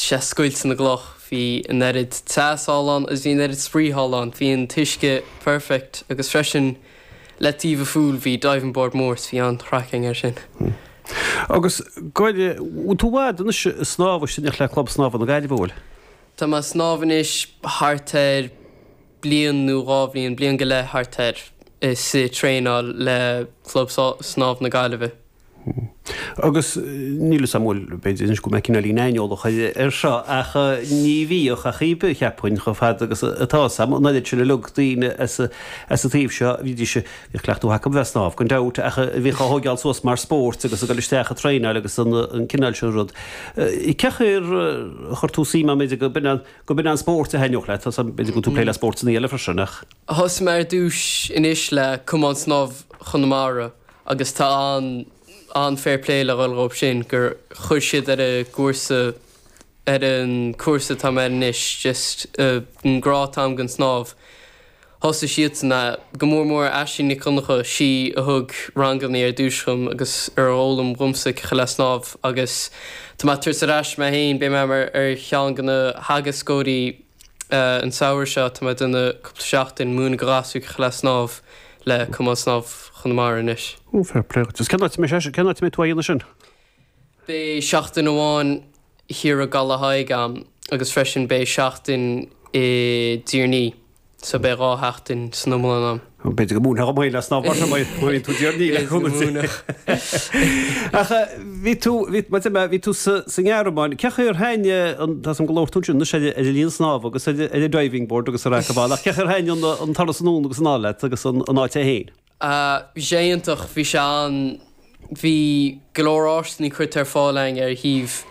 sé scoilt na gcloch, bhí an oiread teas thall ann agus bhí an oiread spraoi thall ann, bhí an t-uisce perfect agus freisin le taobh an phúil bhí diving board mór so bhí an-chraic againn air sin. Agus go bhfuil tú i bhfad anois ag snámh istigh le Club Snámha na Gaillimhe, an bhfuil? Tá mé ag snámh anois thart ar bliain nó 2 bhliain, bliain go leith thart air, is ag traenáil le Club Snámh na Gaillimhe. Agus níl fhios a'm bhfuil, b'fhéidir anois go mbeidh cineáilín aineolach ar seo, ach ní bhíodh ach oíche, cheapfainn, chomh fada agus atá fhios a'm, an oiread sin uilig daoine as an taobh seo, bhídís, bhíodh cleachtadh acu a bheith ag snámh, gan dabht, ach bhíodh á thóigeáil suas mar spórt agus ag dul isteach ag traenáil agus an cineál sin rud. Cén chaoi ar chuir tú suim ann, b'fhéidir go b'in an, go b'in an spórt a thaitneodh leat, tá fhios a'm, b'fhéidir go bhfuil tú ag plé le spórtanna eile freisin ach. Thosaigh mé ar dtús anois le Cumann Snámh Chonamara agus tá an an-fair play le dhul dhóibh sin gur chuir siad ar an gcúrsa ar an cúrsa atá mé air anois just an grá atá agam don snámh. Thosaigh siadsan é, go mór mór Aisling Nic Dhonncha, sí a thug ranganna ar dtús dhom agus ar fhoghlaim dhomsa cé le snámh agus tá mé ag tabhairt ar ais mé féin, beidh mé mar ar cheann de na theagascóirí An samhradh seo tá mé ag déanamh cúpla seachtain múineadh do ghasúir cé le snámh le Cumann Snámh Chonamara anois. Ó, fair play duit. Agus cén áit a mbeidh sé, cén áit a mbeidh tú á dhéanamh sin? Beidh seachtain amháin thiar i gCaladh Thaidhg a'm agus freisin beidh seachtain i dTír an Fhia. So beidh 2 sheachtain san iomlán a'm. B'fhéidir go múinfeá dhom féin le snámh mar sin má bhíonn tú i dTír an Fhia le cúnamh Dé. Ach bhí tú, bhí, mar a deir mé, bhí tú sa, sa nGearmáin. Cén chaoi ar thaitin an, tá 'fhios a'm go labhair tú ansin anois ar, ar an linn snámha agus ar, ar an diving board agus ar acabáil ach cén chaoi ar thaitin an, an turas anonn agus anall leat agus an, an áit é féin? Bhí sé iontach, bhí sé an, bhí go leor áiseanna curtha ar fáil againn ar thaobh,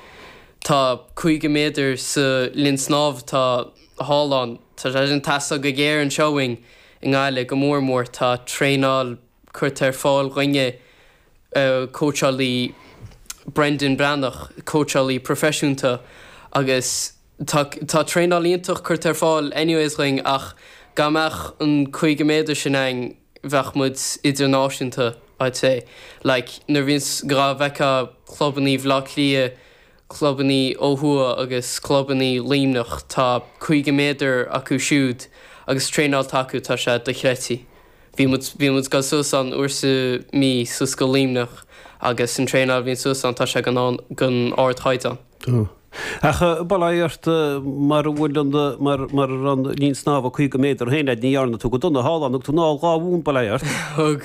tá 50 méadar sa linn snámha atá thall ann, tá sé sin ag teastáil go géar anseo uainn i nGaillimh go mór mór, tá traenáil curtha ar fáil dhúinne, cóitseálaí Brendan Breathnach, cóitseálaí proifisiúnta agus tá tá traenáil iontach curtha ar fáil anyways dhuinn ach dá mbeadh an 50 méadar sin againn bheadh muid idirnáisiúnta I'd say. Like nuair a bhíonns dhá bhfeicfeá clubannaí Bhaile Átha Cliath, clubannaí ó thuaidh agus clubannaí Luimneach tá 50 méadar acu siúd agus traenáil atá acu tá sé dochreidte. Bhí muid bhí muid ag dul suas ann uair sa mí suas go Luimneach agus an traenáil a bhíonn suas ann tá sé den den ardchaighdeán. Tá. Ach bail ó Dhia ort mara bhfuil an mar mar a raibh an linn snámha 50 méadar féin a'd ní dhearna tú go dona thall ann thug tú anall 2 bhonn bail ó Dhia ort. Thug.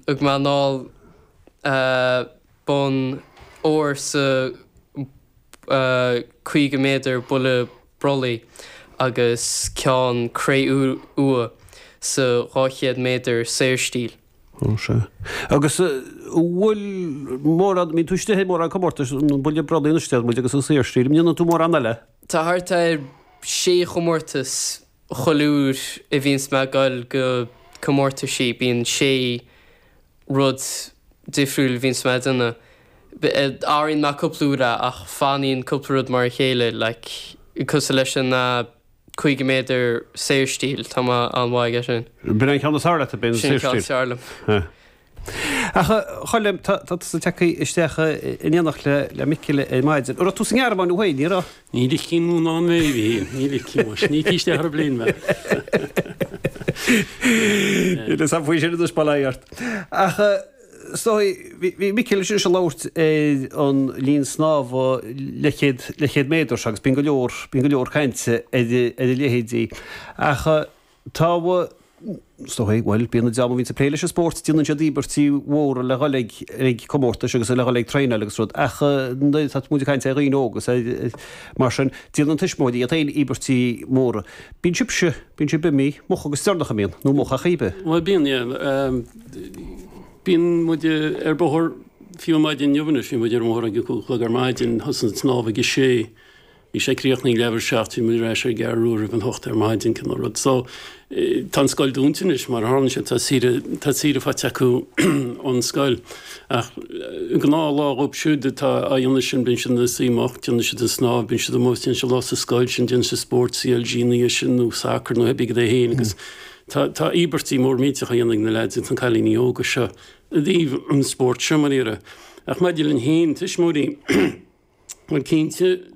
Thug mé anall bonn óir sa 50 méadar buille brollaigh agus ceann cré-umha sa 200 méadar saorstíl. Ó sea. Agus an bhfuil mórán, mbíonn tú istigh i mórán comórtais, an buille brollaigh anois deir muid agus an saorstíl, an ndéanann tú mórán eile? Tá thart ar sé chomórtas chuile uair a bhíonns mé ag goil go comórtaisí, bíonn sé rud difriúil a bhíonns mé ag déanamh. Athraíonn mé cúpla uair é ach fanaíonn cúpla rud mar a chéile, like, cosúil leis an. 50 méadar saorstíl, tá mé an-mhaith aige sin. B'in an ceann is fearr leat, b'in an Sin an ceann is fearr liom. Ach a Choilm, tá tusa tagtha isteach in éineacht le Micil ar maidin. An raibh tú sa nGearmáin thú féin, ní raibh? Ní ligfinn mé ná an mé, ní ligfinn, muis. Ní ligfí isteach ar an bplane mé. Níl a fhios agam faoi sin anois, bail ó Dhia ort. Ach Is dóigh, bhí Micil anois ag labhairt ar an linn snámha leathchéad, leathchéad méadar seo agus bíonn go leor, bíonn go leor cainte ar, ar a leithéidí. Ach tá, is dóigh, bhuel, bíonn an dream a bhíonns ag plé leis an spórt, déanann siad íobairtí mhóra le dhul ag, ag comórtais agus le dhul ag traenáil agus rud. Ach nuair atá muid ag caint ar dhaoine óga agus ar, mar sin, déanann tuismitheoirí iad féin íobairtí móra. Bíonn sibhse, bíonn sibh imithe moch agus deireanach a mbíonn, nó moch ach íbe. Bhuel, bíonn, yeah. Bíonn muid ar bóthar fiú ar maidin inniu anois, bhí muid ar an mbóthar ag a 5 a chlog ar maidin, thosaigh an snámh ag a sé, bhí sé críochnaithe ag leathuair tar éis a 7, bhí muid ar ais ar an gCeathrú Rua roimh an hocht ar maidin, cineál rud. So, tá an scoil dúnta anois mar a tharlaíonn sé, tá saoire, tá saoire faighte acu ón scoil. Ach gnáthlá dhóibh siúd atá á dhéanamh sin, bíonn siad ina suí moch, déanann siad an snámh, bíonn siad amuigh, déanann siad lá sa scoil sin, déanann siad spórt CLG ina dhiaidh sin nó sacar nó pé ar bith é féin agus Tá tá íobairtí mór millteach á dhéanamh ag na leaids agus na cailíní óga seo i dtaobh an spóirt seo, mar a déarfá. Ach maidir linn féin, tuismitheoirí, bhuel cinnte.